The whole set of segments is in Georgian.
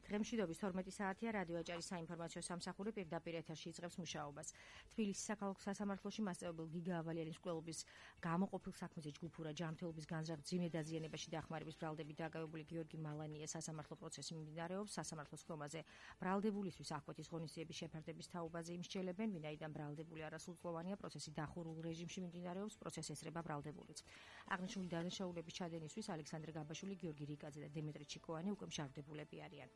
დღემშვიდობის 12 საათია რადიო აჭარის საინფორმაციო სამსახური პირდაპირ ეთერში იწყებს მუშაობას. თბილისის საქალაქო სასამართლოში მასწავლებელი გიგა ავალიანის მკვლელობის გამოყოფილ საქმეზე ჯგუფურა ჯანმრთელობის განზრახ მძიმე დაზიანებაში დახმარების ბრალდებით დაკავებული გიორგი მალანია სასამართლო პროცესი მიმდინარეობს. სასამართლოს ხომაზე ბრალდებულისთვის აღკვეთის ღონისძიების შეფარდების თაობაზე იმსჯელებენ, ვინაიდან ბრალდებული არასრულწლოვანია, პროცესი დახურულ რეჟიმში მიმდინარეობს, პროცესს ესწრება ბრალდებულიც. აღნიშნული დანაშაულების ჩადენისთვის ალექსანდრე გაბაშვილი, გიორგი რიკაძე და დემეტრე ჩიკოვანი უკვე მშავდებულები არიან.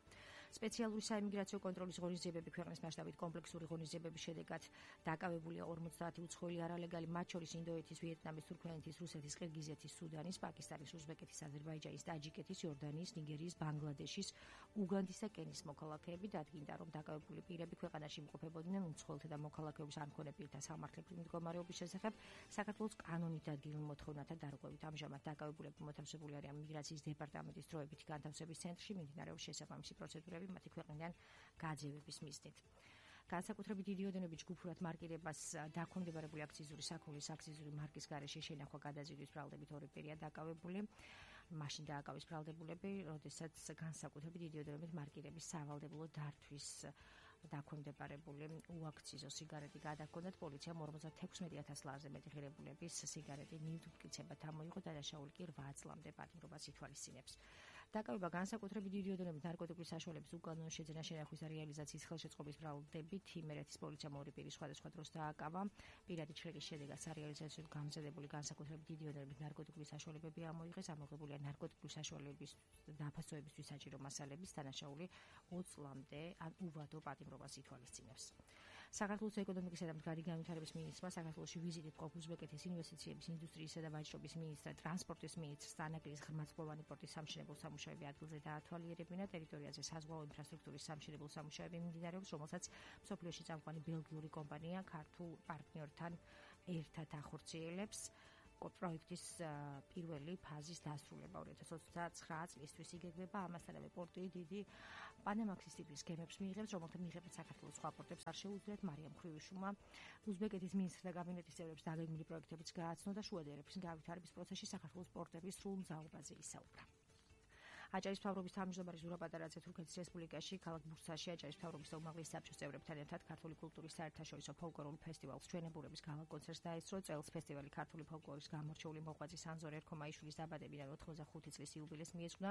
სპეციალური საიმიგრაციო კონტროლის ღონისძიებები ქვეყნის მასშტაბით კომპლექსური ღონისძიებების შედეგად დაკავებულია 50 უცხოელი არალეგალი, მათ შორის ინდოეთის, ვიეტნამის, თურქმენეთის, რუსეთის, ყირგიზეთის, სუდანის, პაკისტანის, უზბეკეთის, აზერბაიჯანის, ტაჯიკეთის, იორდანიის, ნიგერიის, ბანგლადეშის, უგანდის და კენიის მოქალაქეები. დადგინდა, რომ დაკავებული პირები ქვეყანაში იმყოფებოდნენ უცხოელთა და მოქალაქეობის არ მქონე პირთა სამართლებრივი მდგომარეობის შესახებ საქართველოს კანონით დადგინულ მოთხოვნათა დარღვევით. ამჟამად დაკავებულები მოთავსებული არიან მიგრაციის დეპარტამენტის დროებითი განთავსების ცენტრში, მიმდინარეობს შესაბამისი პროცედურები მათი ქვეყნიდან გაძევების მიზნით. განსაკუთრებით დიდი ოდენობით ჯგუფურად მარკირებას დაქვემდებარებული აქციზური საქონლის აქციზური მარკის გარეშე შენახვა გადაზიდვის ბრალდებით ორი პირია დაკავებული. მაშინ დააკავეს ბრალდებულები, როდესაც განსაკუთრებით დიდი ოდენობით მარკირების სავალდებულო დართვის დაქვემდებარებული უაქციზო სიგარეტი გადაგონდათ. პოლიციამ 56,000 ლარზე მეტი ღირებულების სიგარეტი ნივთმტკიცებად ამოიღო, დანაშაული კი 8 წლამდე პატიმრობას ითვალისწინებს. დაკავება განსაკუთრებით დიდი ოდენობით ნარკოტიკული საშუალების უკანონო შეძენა შენახვის და რეალიზაციის ხელშეწყობის ბრალდებით იმერეთის პოლიციამ ორი პირი სხვადასხვა დროს დააკავა. პირადი ჩრდილის შედეგად სარეალიზაციოდ გამზადებული განსაკუთრებით დიდი ოდენობით ნარკოტიკული საშუალებები ამოიღეს, ამოღებულია ნარკოტიკული საშუალებების დაფასოებისთვის საჭირო მასალების, დანაშაული 20 წლამდე ან უვადო პატიმრობას ითვალისწინებს. საქართველოს ეკონომიკისა და მდგრადი განვითარების მინისტრმა საქართველოში ვიზიტით ყოფ უზბეკეთის ინვესტიციების, ინდუსტრიისა და ვაჭრობის მინისტრ, ტრანსპორტის მინისტრ სტანაკლის ღრმაცმოვანი პორტის სამშენებლო სამუშაოები ადგილზე დაათვალიერებინა. ტერიტორიაზე საზღვაო ინფრასტრუქტურის სამშენებლო სამუშაოები მიმდინარეობს, რომელსაც მსოფლიოში წამყვანი ბელგიური კომპანია ქართულ პარტნიორთან ერთად ახორციელებს. პროექტის პირველი ფაზის დასრულება 2029 წლისთვის იგეგმება. ამასთანავე პორტი დიდი პანამაქსის ტიპის გემებს მიიღებს, რომელთა მიღებაც საქართველოს სხვა პორტებს არ შეუძლიათ. მარიამ ხრივიშვილმა უზბეკეთის მინისტრთა კაბინეტის წევრებს დაგეგმილი პროექტებიც გააცნო და შუა ერების განვითარების პროცესში საქართველოს პორტების სრულ მზაობაზე ისაუბრა. აჭარის მთავრობის თავმჯდომარე ზურაბ პატარაძე თურქეთის რესპუბლიკაში ქალაქ ბურსაში აჭარის მთავრობის და უმაღლესი საბჭოს წევრებთან ერთად ქართული კულტურის საერთაშორისო ფოლკლორულ ფესტივალს ჩვენებურების გალა კონცერტს დაესწრო. წელს ფესტივალი ქართული ფოლკლორის გამორჩეული მოღვაწე სანზორ ერქომაიშვილის დაბადებიდან 85 წლის იუბილეს მიეძღვნა.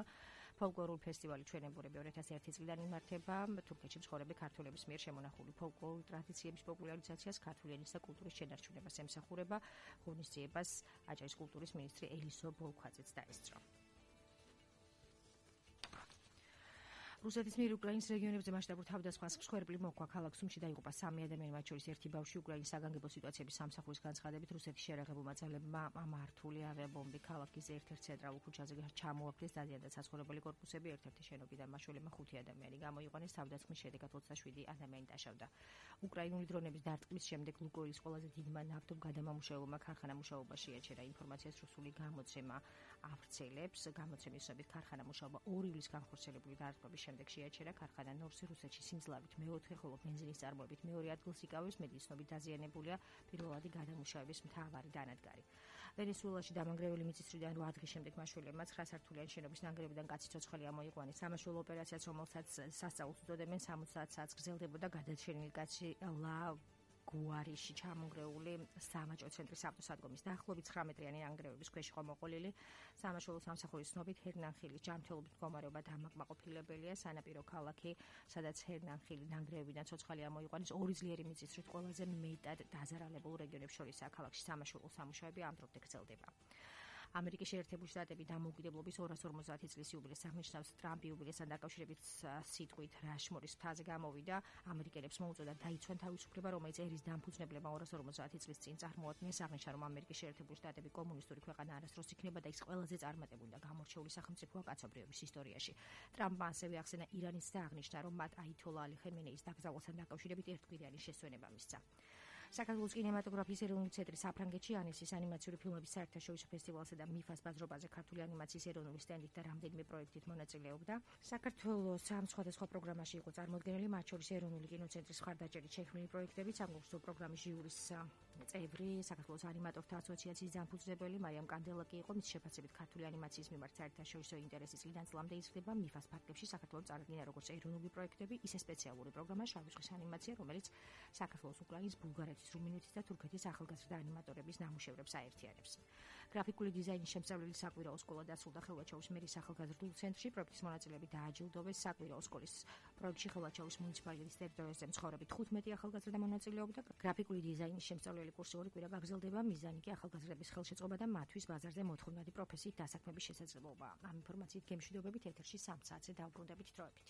ფოლკლორულ ფესტივალი ჩვენებურები 2001 წლიდან იმართება. თურქეთში მცხოვრები ქართველების მიერ შემონახული ფოლკლორული ტრადიციების პოპულარიზაციას, ქართული ენის და კულტურის შენარჩუნებას ემსახურება. ღონისძიებას აჭარის კულტურის მინისტრი ელისო ბოლქვაძეც დაესწრო. რუსეთის მიერ უკრაინის რეგიონებზე მასშტაბურ თავდასხმას მსხვერპლი მოჰყვა. ქალაქ სუმში დაიღუპა 3 ადამიანი, მათ შორის ერთი ბავშვი. უკრაინის საგანგებო სიტუაციების სამსახურის განცხადებით, რუსეთის შერაღებულმა ძალებმა მართული ავიაბომბი ქალაქის ერთ-ერთ ცენტრალურ ქუჩაზე ჩამოაგდეს. დადიანდა საცხოვრებელი კორპუსები, ერთ-ერთი შენობიდან მაშველებმა 5 ადამიანი გამოიყვანეს. თავდასხმის შედეგად 27 ადამიანი დაშავდა. უკრაინული დრონების დარტყმის შემდეგ ლუკოილის ყველაზე დიდმა ნავთობგადამამუშავებელმა ქარხანა მუშაობაში აჩერა. ინფორმაციას რუსული გამოცემა ავრცელებს. გამოცემის შესაბამისად ქარხანა მუშაობა 2 ივლის განხორციელებული დარტყმების შემდეგ შეაჩერა. ქარხანა ნორსი რუსეთში სიმძლავრით მეოთხე, ხოლო ბენზინის წარმოებით მეორე ადგილს იკავებს. მედიცინობით დაზიანებულია პირველადი გადამუშავების მთავარი დანადგარი. ვენესუელაში დამანგრეველი მიწისძვრიდან 8 დღის შემდეგ მაშველებმა 9 სართულიანი შენობის ნანგრევიდან კაცი ცოცხალი ამოიყვანეს. სამაშველო ოპერაციაც, რომელსაც სასწაულს უწოდებენ, 70 საათს გრძელდებოდა. გადაჩენილი კაცი გუარიში ჩამონგრეული სამაჭო ცენტრის ავტოსადგომის დაახლოებით 9 მეტრიანი ნანგრევების ქვეშ იყო მოყოლილი. სამაშველო სამსახურის ცნობით ჰერნანხილის ჯანმრთელობით მდგომარეობა დამაკმაყოფილებელია. სანაპირო ქალაქი, სადაც ჰერნანხილი ნანგრევებიდან ცოცხალი ამოიყვანეს, 2 ძლიერი მიწისძვრით ყველაზე მეტად დაზარალებულ რეგიონებს შორისაა. ქალაქში სამაშველო სამუშაოები ამ დრომდე გრძელდება. ამერიკის შეერთებული შტატები დამოუკიდებლობის 250 წლის იუბილეს აღნიშნავს. ტრამპი იუბილესთან დაკავშირებით სიტყვით რაშმორის მთაზე გამოვიდა. ამერიკელებს მოუწოდა დაიცვან თავისუფლება, რომელიც ერის დამფუძნებლებმა 250 წლის წინ წარმოადგენს. აღნიშნა, რომ ამერიკის შეერთებული შტატები კომუნისტური ქვეყანა არასდროს იქნება და ის ყველაზე წარმატებული და გამორჩეული სახელმწიფოა კაცობრიობის ისტორიაში. ტრამპმა ასევე ახსენა ირანის და აღნიშნა, რომ მათ აითოლა ალი ხემენეის დაკრძალვასთან დაკავშირებით ერთკვირიანი შესვენება მისცა. საქართველოს კინემატოგრაფიის ეროვნული ცენტრი საფრანგეთში ანესის ანიმაციური ფილმების საერთაშორისო ფესტივალსა და მიფას ბაზრობაზე ქართული ანიმაციის ეროვნული სტენდით და რამდენიმე პროექტით მონაწილეობდა. საქართველოს ამ სხვადასხვა პროგრამაში იყო წარმოდგენილი, მათ შორის ეროვნული კინოცენტრის მხარდაჭერით შექმნილი პროექტები, სამგლოვსო პროგრამის ჟიურის წევრი, საქართველოს ანიმატორთა ასოციაციის დამფუძნებელი მარიამ კანდელაკი იყო. მის შეფასებით ქართული ანიმაციის მიმართ საერთაშორისო ინტერესის წლიდან წლამდე იზრდება. მიფას ფარგლებში საქართველოს წარადგინა როგორც ეროვნული პროექტები, ისე სპეციალური პროგრამა შავი ზღვის ანიმაცია, რომელიც საქართველოს, უკრაინის, ბულგარეთის, რუმინეთის და თურქეთის ახალგაზრდა ანიმატორების ნამუშევრებს აერთიანებს. გრაფიკული დიზაინის შემსწავლელი საკვირაო სკოლა დასრულდა ხელვაჩაურის მერის ახალგაზრდულ ცენტრში. პროექტის მონაწილეები დააჯილდოვეს. საკვირაო სკოლის პროექტში ხელვაჩაურის მუნიციპალიტეტის ტერიტორიაზე მცხოვრები 15 ახალგაზრდა მონაწილეობდა. გრაფიკული დიზაინის შემსწავლელი კურსი ორი კვირა გაგრძელდება. მიზანი კი ახალგაზრდების ხელშეწყობა და მათთვის ბაზარზე მოთხოვნადი პროფესიით დასაქმების შესაძლებლობაა. ამ ინფორმაციით გემშვიდობებით ეთერში 3 საათზე დავბრუნდებით დროებით.